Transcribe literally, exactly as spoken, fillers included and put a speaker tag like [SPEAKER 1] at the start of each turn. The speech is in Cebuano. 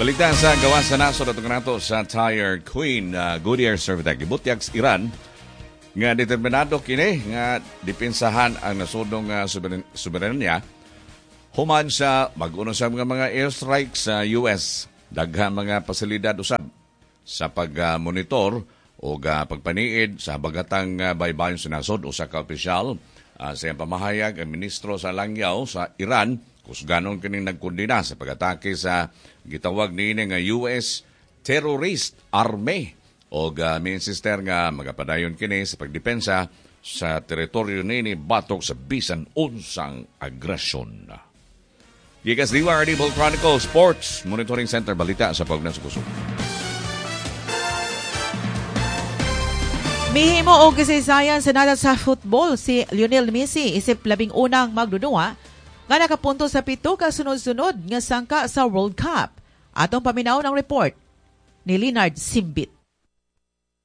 [SPEAKER 1] Balita sa gawas sa nasod at nato sa Tire Queen uh, Goodyear Servitec. Gibutyag sa Iran nga determinado kini nga depensahan ang nasodong uh, soberen- soberenya human sa mag-uno sa mga mga airstrikes sa U S. Daghan mga pasilidad usab sa pag-monitor o uh, pagpaniid sa bagatang uh, baybayon sa nasod. Usa ka opisyal uh, sa iyang pamahayag, ang ministro sa Langyaw sa Iran kusganon kining nagkondena sa pag-atake sa gitawag niini nga U S terrorist army o uh, mi-insister nga magapadayon kini sa pagdepensa sa teritoryo niini batok sa bisan unsang agresyon. Gikas D Y R D Chronicle Sports Monitoring Center, balita sa pagna sa kusog.
[SPEAKER 2] Mihimo og kasaysayan sa nada sa football si Lionel Messi isip labing unang magdudua nga nakapunto sa pito ka sunod-sunod nga sangka sa World Cup. Atong paminaw ng report ni Leonard Simbit.